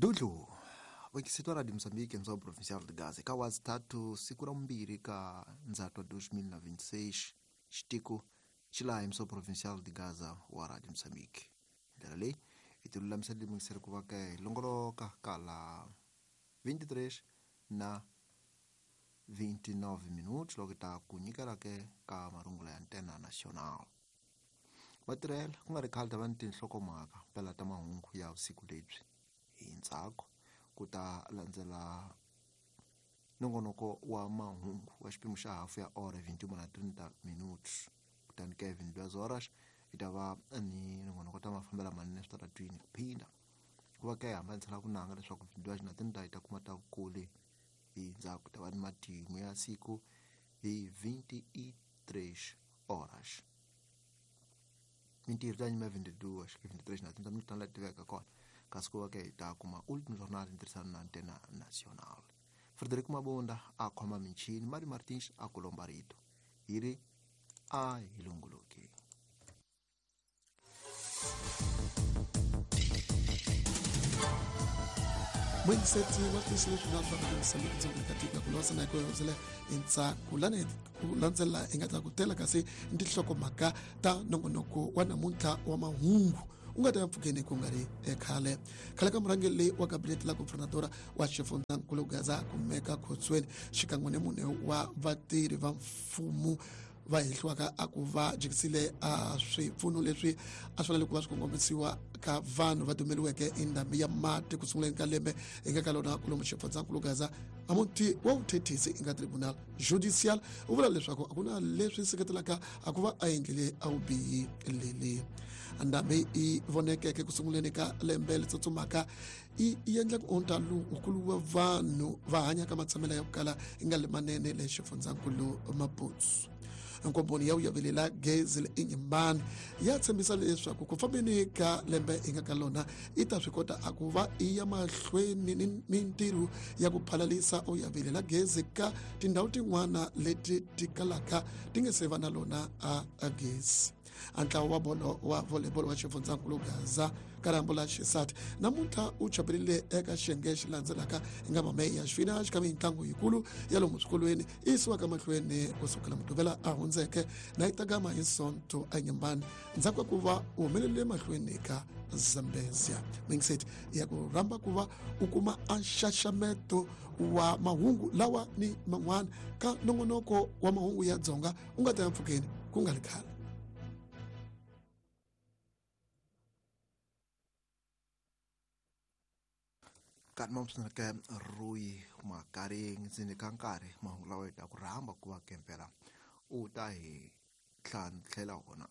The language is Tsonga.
Dudlu vekisitwa Radio Mozambique mzao provincial de Gaza ka wazi tatu siku ra mbirhi ka Ndzhato 2026 xitiko xilaha mzao provincial de Gaza wa Radio Mozambique. Ndlela leyi hi ti lulamisela lemukiseri ku va ka hi longoloka ka la 23 na 29 minutos loko ta ku nyikela ke ka marungula ya Antena Nacional. Vatirhela ku nga ri khale ta va ni tinhlokomhaka pela ta mahungu ya vusiku lebyi hi ntsako ku ta landzela nongonoko wa mahungu wa xiphemu xa hafu ya ora 21:30 minutos. Kutani ke 22 horas hi ta va ni nongonoko ta mafambela manene switaratwini ku phinda ku va ke hambanisela ku nanga leswaku 22:30 hi ta kuma ta vukuli hi ndzhaku ta va ni matimu ya siku hi 23 horas. Mintirho ta nyima 22 23:30 minutos la tiveka kona kasi ku va ke hi ta kuma Ultimo Jornal ntirhisano na Antena Nacional. Frederico Mabunda a khoma michini, Mari Martins a ku lomba rito hi ri a hi longoloki. Muyingiseti wa tisi leswi nga swa Radio Mozambique ndzongeni ka tiko ku losa na ku hundzela entshaku lani ku landzela hi nga ta ku tela kasi tinhlokomhaka ta nongonoko wa namuntlha wa mahungu u nga ta ya mpfhukeni ku nga ri khale. Khale ka murhangeri leyi wa kabinete la gobernadora wa xifundzankulu Gaza kumeka khotsweni xikan'we ni mune wa vatirhi va mfumo va hehliwaka a ku va jikisile a swipfuno leswi a swi fanele ku va swi kongomisiwa ka vanhu va dumeliweke i ndhambi ya mati ku sunguleni ka lembe hi nga ka lona kulomu xifundzankulu Gaza. A muti wa vuthethisi i nga tribunal judicial u vula leswaku a ku na leswi seketelaka a ku va a endlile a vubihi leli. Ndhambi yi vonekeke ku sunguleni ka lembe leri tsutsumaka yi endla ku onta lowukulu wa vanhu va hanyaka matshamelo ya ku kala yi nga limanene le xifundzankulu Maputo. Nkomponi ya vuyavelela gezi le Inyimbani ya tshembisa leswaku ku fambeni ka lembe hi nga ka lona yi ta swi kota a ku va yi ya mahlweni ni mintirho ya ku phalalisa uyavelela gezi ka tindhawu tin'wana leti ti kalaka ti nge se va na lona a gezi. A ntlawa wa bolo wa volleyball wa xifundzankulu Gaza ka rambo la xisati namuntlha u chaperile eka xiyenge xi landzelaka hi nga mameya ya xifina xikan'we mitlangu yikulu ya lomu swikolweni yi yisiwaka mahlweni kusukela Mugqivela a hundzeke na yi tagama hi Sonto eNyembani ndzhaku ka ku va u humelele mahlweni ka Zambezia. Mingiseti ya ku rhamba ku va u kuma a nxaxameto wa mahungu lawa ni man'wana ka nongonoko wa mahungu ya Dzonga u nga ta ya mpfhukeni ku nga ri khale. Kanti mamsinake Rui Makaring ndzeni ka nkarhi mahungu lawa hi ta ku rhamba ku va kempela u ta hi tlhantlhela wona.